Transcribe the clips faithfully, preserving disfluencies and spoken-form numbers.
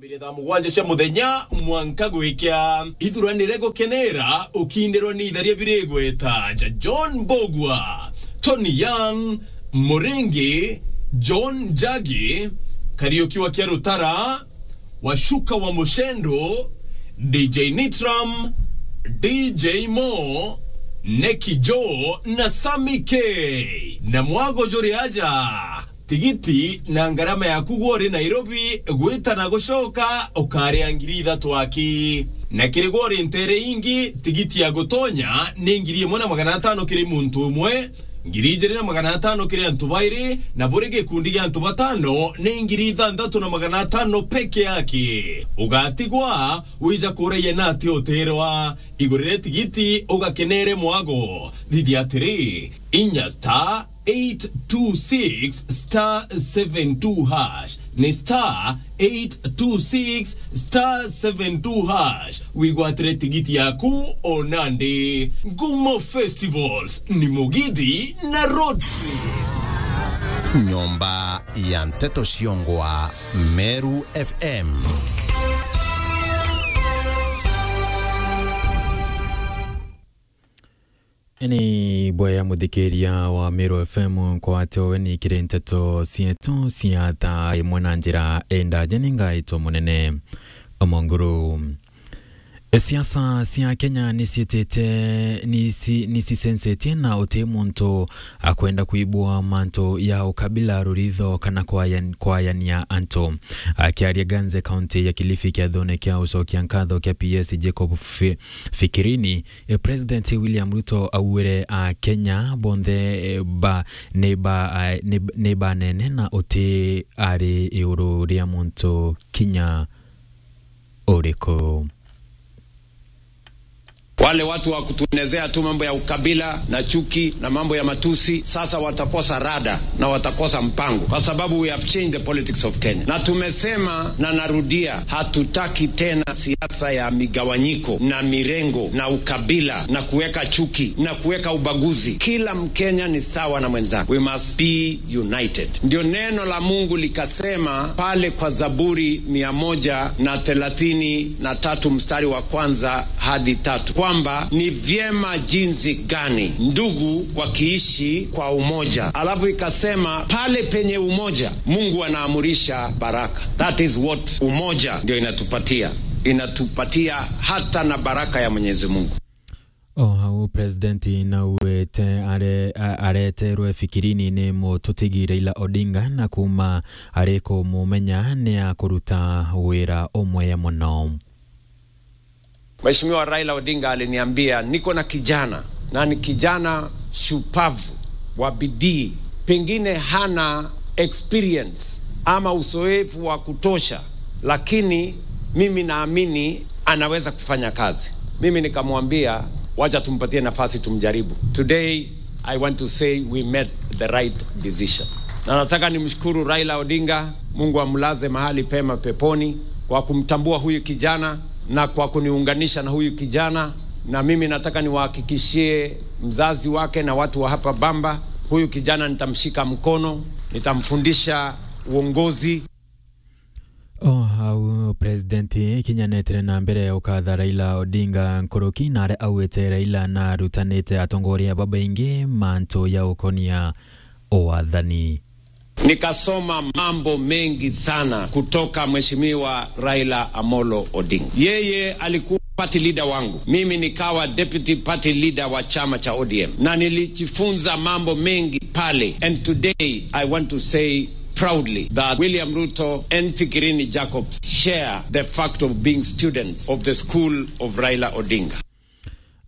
Mbere thaa mugwanja cia muthenya mwanka gwikia ithuranire gukenera ukindirwa ni itharia biri igweta ja John Mbugua, Tony Young, Muringi, John Njagi, Kariuki wa Kiarutara, Washuka wa Mushendo, D J Nitram, D J Mo, Neki Joe na Sammy K. Na mwago juri aja, tigiti na ngarama yaku gwa uri Nairobi gwita na gucoka ukaria ngiri ithatu aki. Na kiri gwa uri ntere ingi, tigiti ya gutonya ni ngiri imwe na magana atano kiri muntu umwe, ngiri ijiri na magana atano kiri antu bairi, na buri gikundi gia antu batano ni ngiri ithanthatu na magana atano peke yake. Ugatigwa wija kuraia na ati utirwa. Igurire tigiti ugakenere mwago. Thithia atiri, inya star eight two six star seven two hash. Ni star eight two six star seven two hash. Wigwatire tigiti yaku o nandi. Ngumo Festivals ni Mugithi na Road Trip. Nyomba ya Nteto Ciongwa, Meru F M. Ni bwega muthikiria wa Meru F M, nkwate weni kiri nteto cietu cia thaa imwe na njira endaje ni ngaitwa munene Omonguru. Siasa cia Kenya ni ciitite, ni ci-, ni cicencetie na uti muntu akwenda kuibua mantu ya ukabila, ruritho kana kwayan-, kwayania antu. Akiaria Ganze, kaunti ya Kilifi, kiathone kia ucokia nkatho kia P S Jacob Fi-, Fikirini, e, President William Ruto augire a Kenya bonthe, e, ba, ni ba, a, ni, ni banene na uti ari iguru ria muntu kinya uriku. Wale watu wa kutuenezea tu mambo ya ukabila na chuki na mambo ya matusi, sasa watakosa rada na watakosa mpango, kwa sababu we have changed the politics of Kenya. Na tumesema na narudia, hatutaki tena siasa ya migawanyiko na mirengo na ukabila na kuweka chuki na kuweka ubaguzi. Kila Mkenya ni sawa na mwenzake. We must be united. Ndio neno la Mungu likasema pale kwa Zaburi mia moja na thelathini na tatu mstari wa kwanza hadi tatu, kwamba ni vyema jinsi gani ndugu wakiishi kwa umoja. Alafu ikasema pale penye umoja, Mungu anaamurisha baraka. That is what umoja ndio inatupatia. Inatupatia hata na baraka ya Mwenyezi Mungu. O hau, President nauwete are-, a-, areterwe Fikirini ni mututigi Raila Odinga, na kuma ari kumumenya ni akuruta wira umwe muno. Mheshimiwa Raila Odinga aliniambia, "Niko na kijana, na ni kijana shupavu, wa bidii, pengine hana experience ama uzoefu wa kutosha, lakini mimi naamini anaweza kufanya kazi." Mimi nikamwambia, "Wacha tumpatie nafasi, tumjaribu." Today, I want to say we made the right decision. Na nataka nimshukuru Raila Odinga, Mungu amlaze mahali pema peponi, kwa kumtambua huyu kijana na kwa kuniunganisha na huyu kijana. Na mimi nataka niwahakikishie mzazi wake na watu wa hapa Bamba, huyu kijana nitamshika mkono, nitamfundisha uongozi. O hau, President kinya netire na mbere ukatha Raila Odinga nkuruki, na aria augite Raila narutanite atongoria babaingi mantu ya ukonia wathani. Nikasoma mambo mengi sana kutoka Mheshimiwa Raila Amolo Odinga. Yeye alikuwa party leader wangu, mimi nikawa deputy party leader wa chama cha O D M, na nilijifunza mambo mengi pale. And today I want to say proudly that William Ruto and Fikirini Jacobs share the fact of being students of the school of Raila Odinga.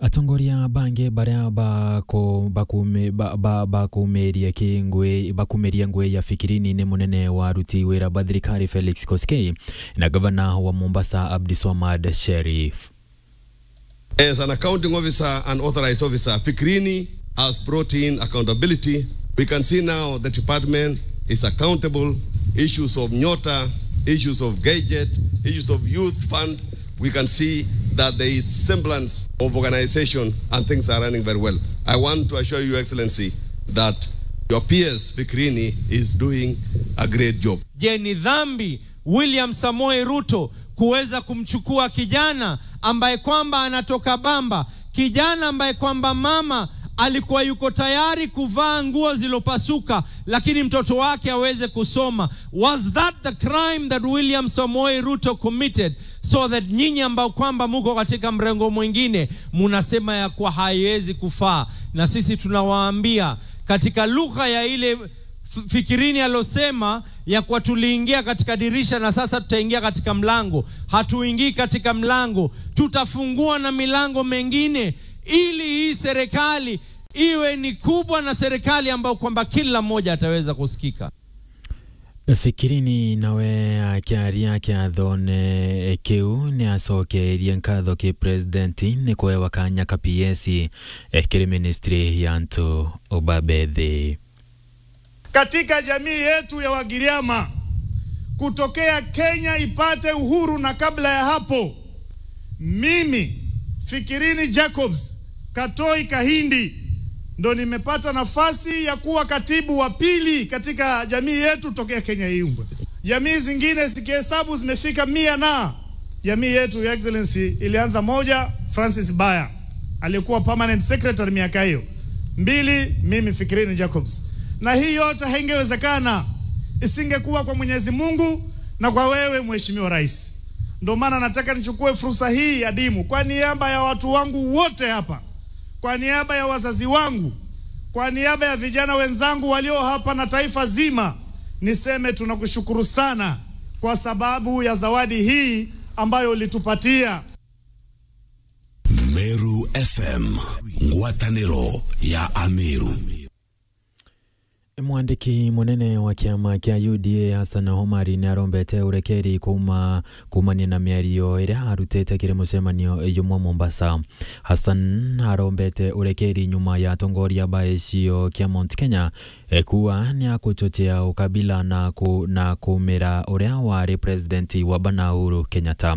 Atongoria bangi baria baku-, bakume-, ba-, ba-, bakumiria ki ngui, bakumiria ngui ya Fikirini ni munene wa aruti wira ba thirikari Felix Koskei na gavana wa Mombasa Abdi Swamad Sharif. As an accounting officer and authorized officer, Fikirini has brought in accountability. We can see now the department is accountable. Issues of Nyota, issues of gadget, issues of youth fund, we can see that there is semblance of organization and things are running very well. I want to assure you, Excellency, that your P S Fikirini is doing a great job. Je, ni dhambi William Samoei Ruto kuweza kumchukua kijana ambaye kwamba anatoka Bamba, kijana ambaye kwamba mama alikuwa yuko tayari kuvaa nguo zilopasuka, lakini mtoto wake aweze kusoma. Was that the crime that William Samoei Ruto committed, so that nyinyi ambao kwamba muko katika mrengo mwingine munasema ya kuwa haiwezi kufaa? Na sisi tunawaambia katika lugha ya ile F-, Fikirini alosema ya kuwa tuliingia katika dirisha na sasa tutaingia katika mlango. Hatuingii katika mlango, tutafungua na milango mengine ili hii serikali iwe ni kubwa na serikali ambayo kwamba kila mmoja ataweza kusikika. Fikirini nawe akiaria kiathone kiu ni acokeerie nkatho ki president ni kuewa kanya ka P S kiri ministry ya antu babethi. Katika jamii yetu ya Wagiriama, kutokea Kenya ipate uhuru na kabla ya hapo, mimi, Fikirini Jacobs Katoi Kahindi, ndo nimepata nafasi ya kuwa katibu wa pili katika jamii yetu tokea Kenya iumbwe. Jamii zingine zikihesabu zimefika mia na Jamii yetu, Your Excellency, ilianza moja, Francis Baya, aliyekuwa permanent secretary miaka hiyo. Mbili, mimi Fikirini Jacobs. Na hii yote haingewezekana isingekuwa kwa Mwenyezi Mungu na kwa wewe, Mheshimiwa Rais. Ndio maana nataka nichukue fursa hii adimu kwa niaba ya watu wangu wote hapa, kwa niaba ya wazazi wangu, kwa niaba ya vijana wenzangu walio hapa na taifa zima, niseme tunakushukuru sana kwa sababu ya zawadi hii ambayo ulitupatia. Meru F M, ngwatanĩro ya Ameru. Mwandiki munene wa kiama kia U D A Hassan Omari ni arombete urekeri kuuma, kuumania na miario iria arutite kiri mucemanio jumwe Mombasa. Hassan arombete urekeri nyuma ya atongoria ba gicigo kia Mount Kenya e, kuuga ni akuchochea ukabila na ku-, na kumira uria wari president wa bana Uhuru Kenyatta.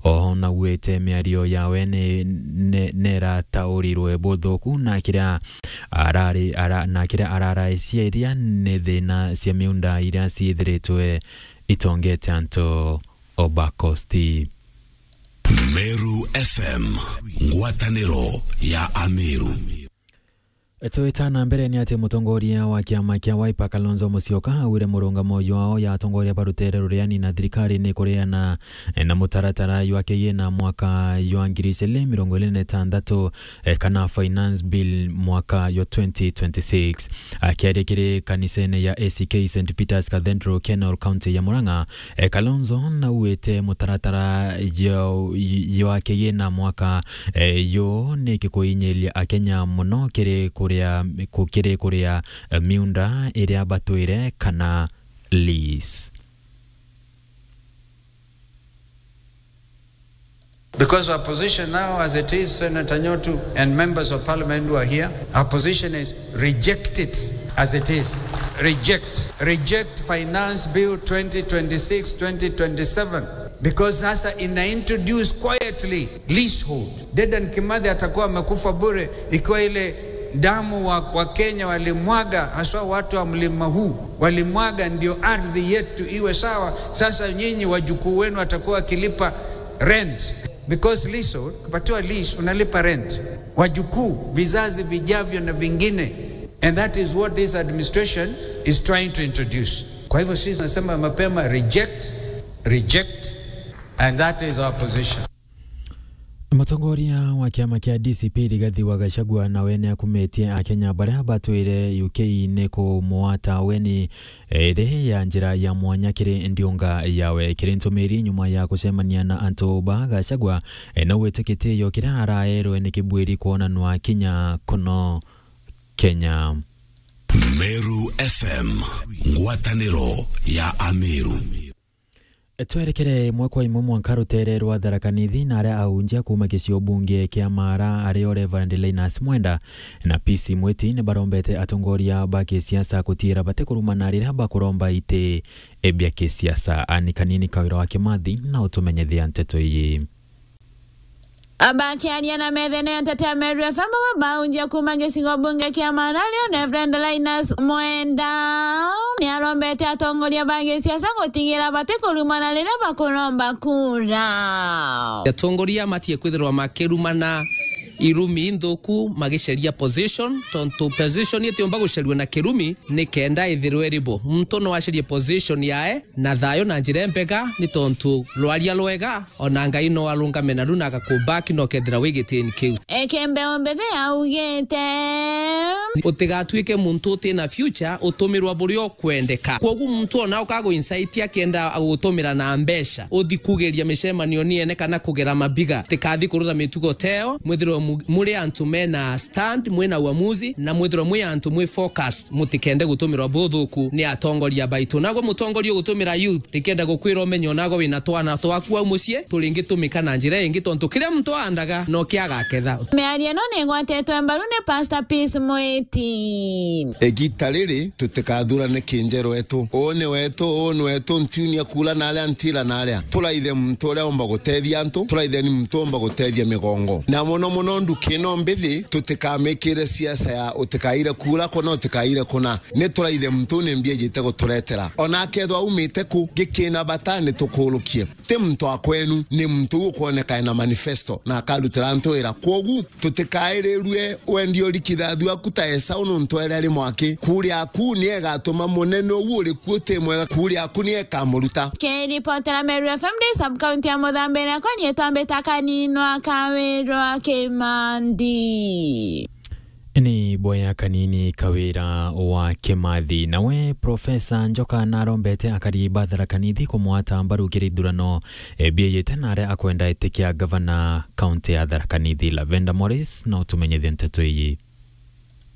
Oho naugite miario yawe ni, ni, niratauriirwe buthuku na kiria arari, ara-, na kiria araraiciria ni thina cia miunda iria ciithiritwe itongete antu o ba Coast. Meru F M, ngwatanĩro ya Ameru. Twita na mbere ni ati mutongoria wa kiama kia Wiper Kalonzo Musyoka augire murungamo jwao ya atongoria ba rutere ruria ni na thirikari ni kuriana na mutaratara jwa kigina mwaka jwa ngiri igiri mirongo iri na itantatu, eh, kana Finance Bill mwaka jwa twenty twenty-six. Akiaria kiri kanisene ya A C K Saint Peter's Cathedral, Kenol, kaunti ya Murang'a, eh, Kalonzo naugite mutaratara jwa, jwa kigina mwaka, eh, juu ni gikuinyiria Akenya muno kiri kuria, ku-, kiri kuria, eh, miunda iria batwire kana lease. Because our position now, as it is, Senator Nyotu and members of parliament who are here, our position is reject it as it is. Reject. Reject Finance Bill twenty twenty-six, twenty twenty-seven. Because sasa ina introduce quietly leasehold. Dedan Kimathi atakuwa amekufa bure ikiwa ile damu wa, wa Kenya walimwaga, haswa watu wa mlima huu, walimwaga ndio ardhi yetu iwe sawa. Sasa nyinyi wajukuu wenu watakuwa wakilipa rent. Because leasehold, ukipatiwa lease, unalipa rent. Wajukuu, vizazi vijavyo na vingine. And that is what this administration is trying to introduce. Kwa hivyo sisi tunasema mapema, reject, reject, and that is our position. Mutongoria wa kiama kia D C P Rigathi wa Gachagua nawe ni akumitie Akenya baria batwire U K ni kumwata weni iri ya njira ya mwanya kiri ndiunga yawe. Kiri ntumiri nyuma ya kucemania na antu ba Gachagua, e, na gwite kitio kiria araerwe ni kibwiri kwonanwa kinya kuno Kenya. Meru F M, ngwataniro ya Ameru. Twerekere imwe kwa imwe mwanka rutere rwa Tharaka Nithi, na aria aunjia kuuma gicigo bunge kia Maara, ario Reverend Linus Mwenda na Peace Mwiti, ni barombete atongoria ba kisiasa gutiira batikurumana riria bakuromba iti bia kisiasa. Ani Kanini, Kawira wa Kimathi, na utumenyethia nteto iji. Bakiaria na methene ya nteto ya Meru F M, babaunjia kuuma gicigo bunge kia Marari, Reverend Linus Mwenda niarombete atongoria ba gisiasa gutigira batikurumana riria bakuromba kura. Atongoria matie kwithirwa makirumana irumi nthuku magiceria position, tontu position itiumba guceriwa na kirumi, ni kenda ithirwe iribo. Muntu no acerie position yae na thayo na njira imbega, ni tontu rwaria rwega, ona Ngai no arungame naru na agakubaki na ukethira wi gitini kiu. Ekembe ombe thi augite, utigatuike muntu utina future, utumirwa buria ukwendeka. Kwogu muntu ona ukagu incite akienda agutumira na mbeca, uthi kugeria micemanio niene kana kugera mabiga, tikathi kuruta mitugo teo, mwithirwe mu-, muri antu mena stand, mwina uamuzi, na mwithirwe mwi antu mwi focus, mutikende gutumirwa buthuku ni atongoria baitu. Nagwe mutongoria ugutumira youth, rikenda gukwira umenye, onagwe wina twana twaku au mucii, turingitumika na njira ingi, tontu kiria muntu aandaga no kia agaketha. Miario ino ni igwatetwe mbaru ni Pastor Peace Mwiti. Igita riri tutikathurane kinjeru wetu. Uu ni wetu, uu ni wetu, ntiunia kuura na aria, ntiira na aria. Turaithe muntu uria umba gutethia antu, turaitheni muntu umba gutethia migongo. Na muno muno nduki ino mbithi, tutikamikire siasa ya utikaire kuura kuna, utikaire kuna. Ni turaithe muntu ni mbia ijite guturetera. Ona akethwa aumite ku, gikina bata ni tukurukie. Ti muntu wa kwenu, ni muntu ukwoneka ena manifesto na akarutira antu wira. Kwogu, tutikairirue wendi urikithathua ku ta Esau, nontu ere ari mwaki. Kuuria aku ni egatuma munene uu uri ku uti mwega, kuuria aku ni ekamuruta. Kiripotera Meru F M ndi sub-county ya Muthambi, riakwa riitwa Mbita Kaninwa Kawirwa Kimandi. Ni boya kanini Kawira wa Kimathi. Nawe Profesa Njoka narombete akari ba Tharaka Nithi kumwata mbaru kiri ithurano, e, bieyite na aria akwenda itikia gavana kaunti ya Tharaka Nithi. Lavenda Morris na utumenyithie nteto iyi.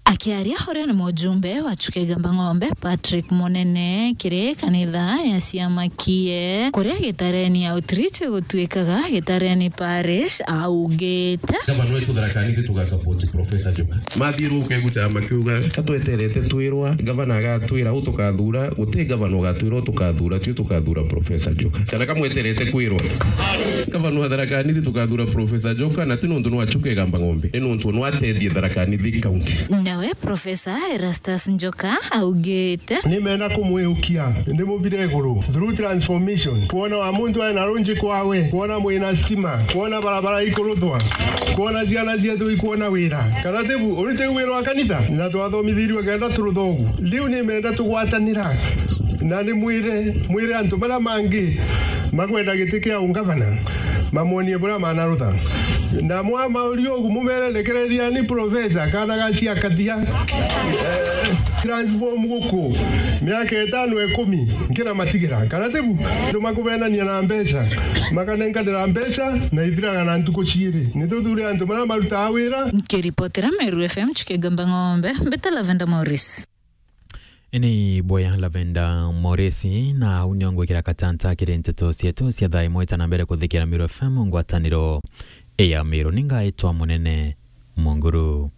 Akiaria uria ni mujumbe wa Chuka Igamba Ng'ombe, Patrick Munene, kiri kanitha ya ciama kie, kuria Gitareni Outreach gutuikaga Gitareni Parish, augite. Gavana wetu Tharaka Nithi tuga support Professor Njoka. Mathiruke guchama kiuga, ka tweterete twirwa, gavana agatwira u tukathura, guti gavana ugatwira u tukathura, tio tukathura Professor Njoka. Kana ka mweterete kwirwa? Gavana wa Tharaka Nithi tukathura Professor Njoka, na ti nontu nwa Chuka Igamba Ng'ombe, ni nontu nwa atethie Tharaka Nithi County. Nawe Professor Erastus Njoka augite. Nimenda kumwiukia, ndimubire iguru through transformation. Kwona wa muntu aina runji kwawe, kwona mwina stima, kwona barabara ikuruthwa, kwona ciana cietu ikwona wira. Kana tibu, uri tiu wira wa kanitha? Na twathomithirio kenda turuthogu. Riu nimenda tugwatanira. Na ni mwire, mwire antu baria mangi makwenda giti kia ungavana, mamwonie buria manarutha. Na mwamauria ugu, mumere, rekereriani Professor, kana ga cia kathia. Eh, transform guku, miaka itano ikumi, nkina matigira. Kana tibu, antu makubenania na mbeca, makanenkanira mbeca, na ithiraga na ntuku ciiri. Ni tuthure antu baria marutaga wira. Nkiripotera Meru F M Chuka Igamba Ng'ombe, Mbita Lavenda Morris. Ini boya Lavenda Moresi, na au nio ngwikira katanta kiri nteto cietu cia thaa imwe ta na mbere kuthikira Meru F M ngwataniro ya Meru. Ningaitwa Munene Munguru.